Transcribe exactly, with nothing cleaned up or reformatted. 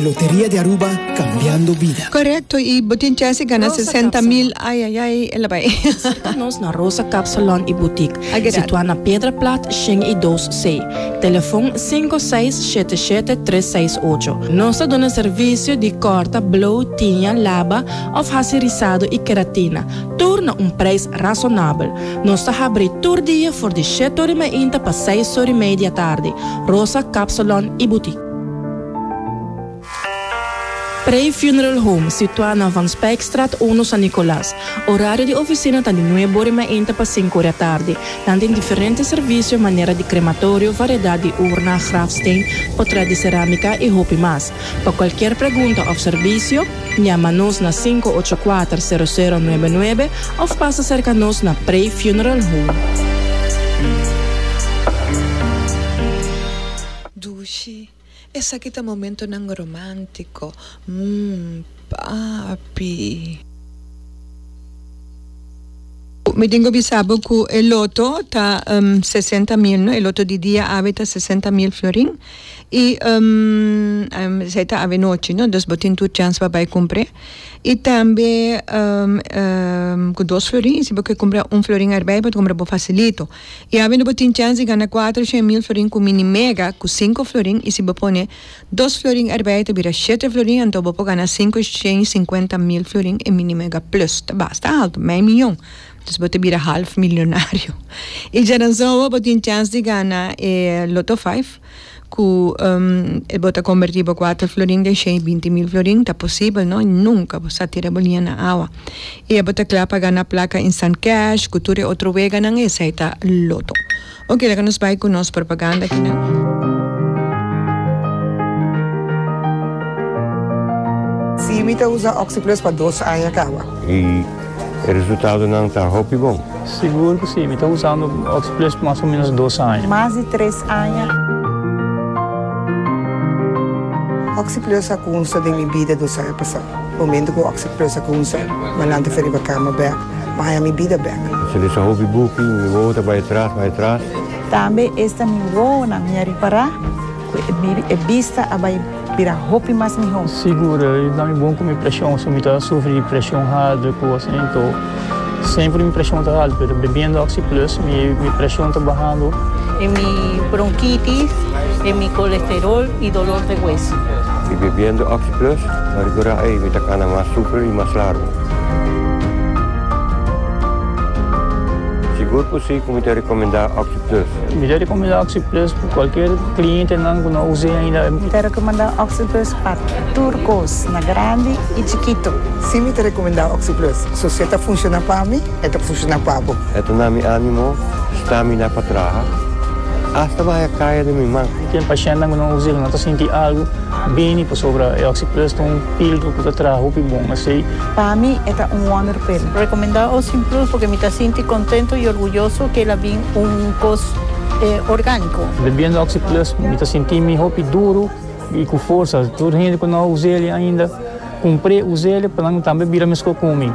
Loteria di Aruba, cambiando bida. Correcto, y bo tin chance gana Rosa sesenta mil. Ay, ay, ay, el a bay. Nos na Rosa Kapsalon y Boutique, I get that. situa na Piedra Plat, Shen y dos C. Telefon cinco seis siete siete tres seis ocho. Nos ta duna servicio di corta, blow, tiña, laba of haci rizado y keratina. Tur na un prijs razonabel. Nos ta habri tur dia for di shete or y mey pa seis or y mey di atardi. Rosa Kapsalon y Boutique. Pre Funeral Home, situa na Van Spijkstraat un, San Nicolas. Horario di oficina ta di nuebe or y mey pa cinco or di atardi. Nan tin diferente servicio, manera di crematorio, variedad di urna, grafsteen, portret di ceramica y hopi mas. Pa cualkier pregunta of servicio, yama nos na cinco ocho cuatro, cero cero nuebe nuebe of pasa cerca nos na Pre Funeral Home. Dushi, esaki ta momentonan romantico. Mmm, papi. Mi tin cu bisa bo cu e loto ta um, sesenta mil, no? E loto di dia awe ta sesenta mil florin. Y um, um, esey ta awe nochi, no? Dus bo tin tur chance pa bay cumpra. Y tambe um, um, cu dos florin, si bo cumpra un florin erbij, bo cumpra bo facilito. Y awe bo tin chance di gana cuater mil florin cu Mini Mega, cu cinco florin, y si bo pone dos florin erbij, ta bira shete florin, anto bo gana cinco cincuenta mil florin e Mini Mega Plus. Ta basta halto, mey miyon. Dus bo ta bira half miyonario. Y diaranson bo tin chance di gana eh, Lotto cinco, cu um, bo ta converti cuater florin den binti mil florin, ta posibel, no? Nunca bo sa tira bo liña na awa. Y bo ta cla pa gana placa instant cash, cu tur otro weganan, esey ta Lotto. Ok, laga nos bay cu nos propaganda aki, no? Si, mi ta usa OxiPlus pa dos aña caba. Y e resultadonan ta hopi bon. Sigur cu si, mi ta usando OxiPlus mas o menos dos aña. Mas di tres aña. OxiPlus a cuminsa den mi bida dos aña pasa. Momento cu OxiPlus a cuminsa, m'a lanta for di cama bek, m'a haya mi bida bek. Si lesa hopi buki, mi wowo ta bay atras, bay atras. Tambe esta mi wowonan, mi a ripara, e bista a bay bira hopi mas miho. Sigur, ta mi bon cu mi presion, si mi ta sufri di presion halto, cos asina, anto semper mi presion ta halto, pero bebiendo OxiPlus, mi, mi presion ta bahando. En mi bronquitis, en mi colesterol y dolor de hueso. Y bebiendo OxiPlus, m'a ripara ey, mi ta cana mas super y mas largo. Sigur cu si, cu mi ta recomenda OxiPlus. Mi ta recomenda OxiPlus pa cualkier clientenan cu no a usa ainda. Mi ta recomenda OxiPlus pa tur cos, na grandi y chikito. Si, mi ta recomenda OxiPlus. Si e ta funciona pa mi, e ta funciona pa bo. E ta duna mi animo, stamina pa traha. Hasta bay caya di mi man. Tin paciente cu no usa, no ta sinti algo, bini pasobra e OxiPlus ta un filtro cu ta traha hopi bon, asina. Pa mi, e ta un wonder pill. Recomenda OxiPlus porque mi ta sinti contento y orguyoso cu el a bin un cos eh, organico. Bebiendo OxiPlus, mi ta sinti mi hopi duro y cu forsa. Tur hende cu no a usa ainda, cumpra, usa pa nan tambe bira mes cu mi.